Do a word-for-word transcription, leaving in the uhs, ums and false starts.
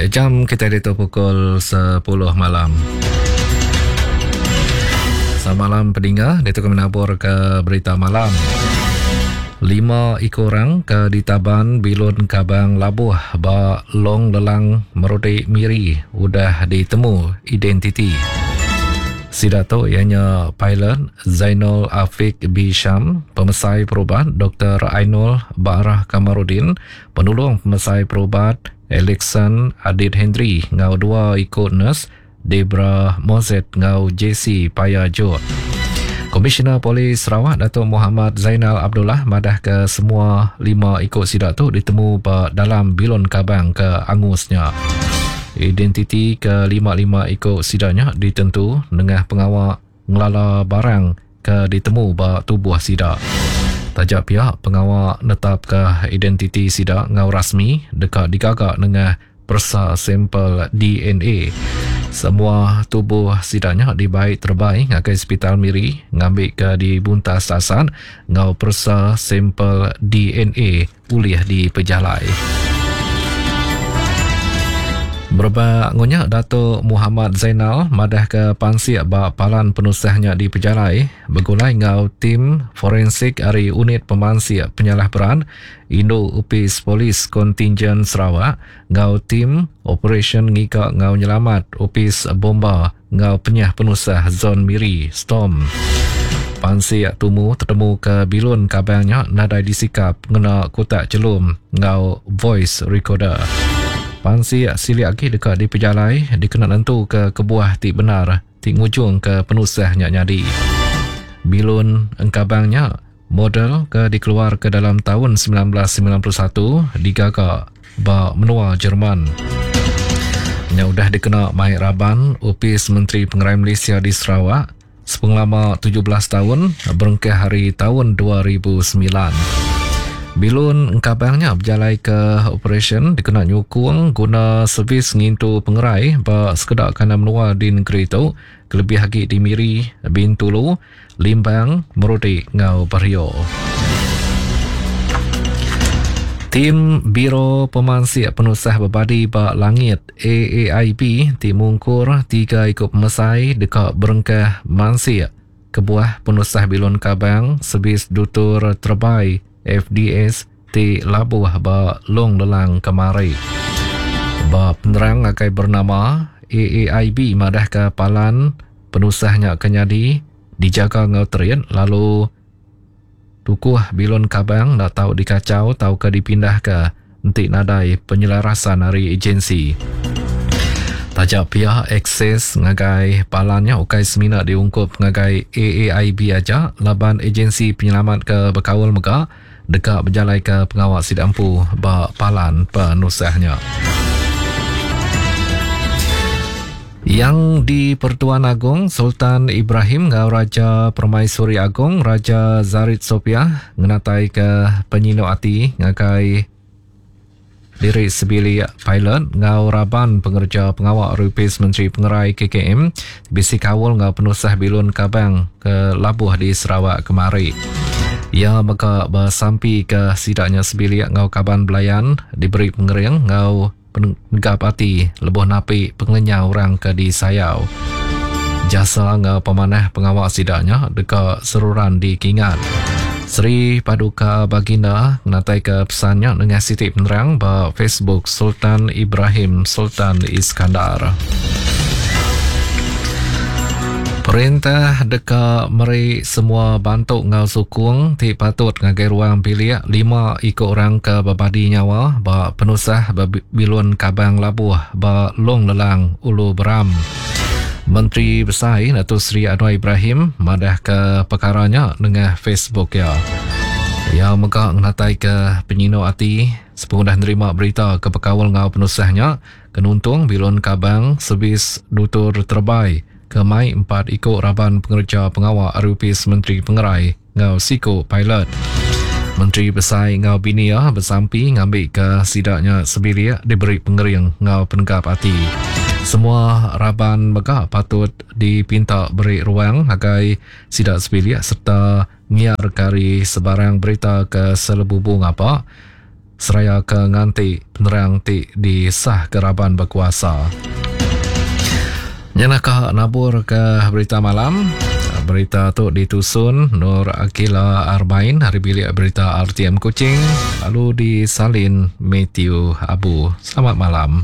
Jam kita ditu pukul sepuluh malam. Selamat malam pendengar, ditu kami nabur ke berita malam. Lima ekor orang ke ditaban bilun Kabang Labuh ba Long Lelang Merudi Miri udah ditemu identiti. Sidato ianya pilot Zainul Afiq Bisham, pemesai perubat Doktor Ainul Barah Kamarudin, penolong pemesai perubat Alexan Adit Henry ngau dua ikut nurse Debra Mozet ngau J C Paya Jok. Komisioner Polis Sarawak Datuk Muhammad Zainal Abdullah madah ke semua lima ikut sidak tu ditemu ba dalam bilun kabang ke angusnya. Identiti ke lima-lima ikut sidaknya ditentu nengah pengawal ngelala barang ke ditemu ba tubuh sidak. Tajak pihak pengawal netap ke identiti sidak ngau rasmi dekat digagak nengah persa sampel D N A. Semua tubuh sidaknya dibaik terbaik ngagai Hospital Miri ngambil ke dibuntas sasan ngau persa sampel D N A ulih di pejalai. Berbak ngunyak Datuk Muhammad Zainal madah ke pansiak ba palan penusahnya di pejalai bergulai ngau tim forensik ari unit pemansiak penyalah peran Indo Upis Polis Kontingen Sarawak ngau tim Operation Ngika ngau Nyelamat Upis Bomba ngau Penyah Penusah Zon Miri Storm. Pansiak tumu tertemu ke bilun kabangnya nadai disikap ngena kotak celum ngau voice recorder. Pansiak silik lagi dekat di pejalai dikena nentu ke kebuah ti benar ti ngujung ke penusahnya nyadi. Bilun engkabangnya model ke dikeluar ke dalam tahun sembilan belas sembilan puluh satu digagak ba menua Jerman. Nya udah dikena mai raban Upis Menteri Pengerai Malaysia di Sarawak sepengelama tujuh belas tahun berengkah hari tahun dua ribu sembilan. Bilun engkabangnya berjalai ke operasi dikena nyukung guna servis ngintu pengerai ba sekedak kanan menua di negeri itu kelebih lagi di Miri, Bintulu, Limbang, Merudi ngau Bario. Tim Biro Pemansiak Penusah Berbadi ba Langit A A I B ti mungkur tiga ikut pemesai dekat berengkah mansiak kebuah penusah bilun kabang servis dutur terbaik F D S ti labuh ba Long Lelang kemari. Ba penerang akai bernama A A I B madah ke palan penusahnya kenyadi dijaga ngau terin lalu tukuh bilun kabang nak tau dikacau tau ke dipindah ke entik nadai penyelarasan hari agensi. Tajak pihak akses ngagai palannya ukai semina diungkup ngagai A A I B aja laban agensi penyelamat ke Bekaul mega dekat berjalai ke pengawal sidampu ba palan penusahnya. Yang di Pertuan Agong Sultan Ibrahim ngau Raja Permaisuri Agong Raja Zarit Sopiah ngenatai ke penyinuk ati ngagai diri sebilik pilot ngau raban pengerja pengawal Rupis Menteri Pengerai K K M bisi kawal ngau penusah bilun kabang ke Labuh di Sarawak kemari. Ia mega bersampi ke sidaknya sebilik ngau kaban belayan diberi pengering ngau penegap ati lebuh napi pengelenyau orang ke disayau. Jasa ngau pemanah pengawal sidaknya dekat seruran dikingat. Seri Paduka Baginda menatai ke pesannya dengan siti penerang ba Facebook Sultan Ibrahim Sultan Iskandar. Perintah deka meri semua bantu ngau sukung ti patut ngagai ruang bilik lima ikut orang ke berbadi nyawa ba penusah bilun Kabang Labuh ba Long Lelang Ulu Beram. Menteri Besar Datuk Seri Anwar Ibrahim madah ke perkaranya dengan Facebook ya. Ia mega ngenatai ke penyinuk ati sepengudah nerima berita ke pekawal ngau penusahnya kenuntung bilun Kabang servis dutur terbaik ke mai empat ikut raban pengerja pengawal R U P S Menteri Pengerai ngau Siko Pilot. Menteri Besar ngau Binia bersampi ngambil ke sidaknya sebilik diberi pengering ngau penegap ati. Semua raban mega patut dipinta beri ruang agai sidak sebilik serta ngiar kari sebarang berita ke selebubu ngapa seraya ke nganti penerang ti disah ke raban berkuasa. Nya ka nabur ke berita malam. Berita tu ditusun Nur Akila Arbain hari bilik berita R T M Kuching, lalu disalin Matthew Abu. Selamat malam.